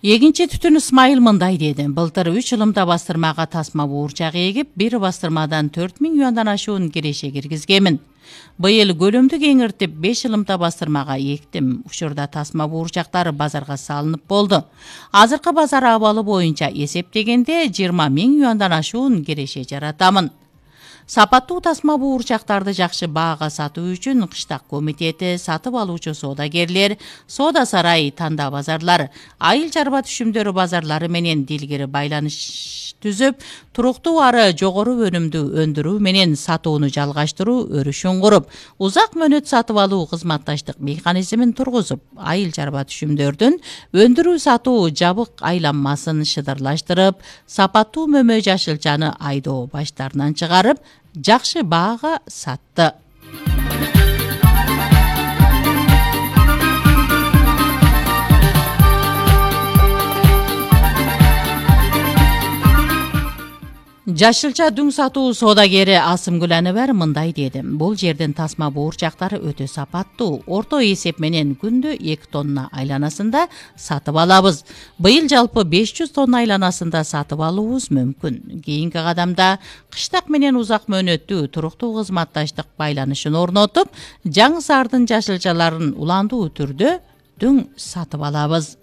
Эгинчи Түтүн Исмайыл мындай деди. Былтыр 3 ылымда бастырмага тасма буурчак эгип, бир бастырмадан 4000 юандан ашуун киреше киргизгемин. Быйыл көлөмдү кеңиртип 5 ылымда бастырмага эктим. Учурда тасма буурчактары базарга салынып болду. Азыркы базар абалы боюнча эсептегенде 20.000 юандан ашуун киреше жаратамын. Сапаттуу тасма буурчактарды жакшы баага сатуу үчүн Кыштак комитети, сатып алуучу соодагерлер, соода сарай, танда базарлар, айыл чарба түшүмдөрү базарлары менен дилгири байланыш түзүп, туруктуу ары жогору өнүмдү өндүрүү менен сатууну жалгаштыруу өрүшүн куруп, узак мөөнөт сатып алуу кызматташтык механизмин тургузуп, айыл чарба түшүмдөрдүн өндүрүү сатуу жабык айланмасын шыдырлаштырып, сапаттуу мөмө жашылчаны айдоо баштарынан чыгарып, жакшы баага сатты. Жашылча дүң сатуу соодагери Асымгүл Аныбар мындай деди. Бул жердин тасма буурчактары өтө сапаттуу. Орто эсеп менен күндө 2 тонна айланасында сатып алабыз. Быйыл жалпы 500 тонна айланасында сатып алуубуз мүмкүн. Кийинки кадамда Кыштак менен узак мөөнөттүү туруктуу кызматташтык байланышын орнотуп, Жаңы Саардын жашылчаларын уландуу түрдө дүң сатып алабыз.